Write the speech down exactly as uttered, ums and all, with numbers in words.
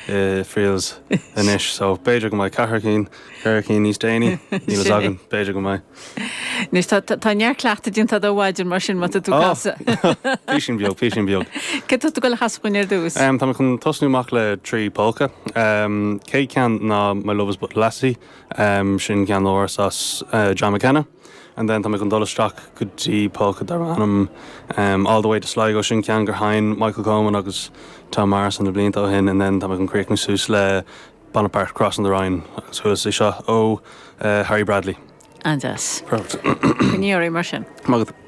i Friels anois, so b'fhéidir go mbeidh ceathair cinn ceithre cinn níos déanaí níl agam b'fhéidir go mbeidh. Anois tá neart cleachtaidh déanta ó mhaidin mar sin má tá tú casadh. Písín beag písín beag. Cé tú go chas chuin ar dtús? Um, Tá chun tosnú amach le trí polca. Um, Céad ceann ná My Love is But Lassie, um, sin ceann as uh, John McKenna. And then tá mé chun dul isteach go dtí polca dar ainm um, all the way to Sligo sin ceann gur sheinn Michael Coleman agus Tom Morris na blianta ó shin and then tá mé chun críochnú suas le Bonaparte Crossing the Rhine agus chuala sé seo ó uh, Harry Bradley. An-deas. Perfect. Ní mar sin. Magat.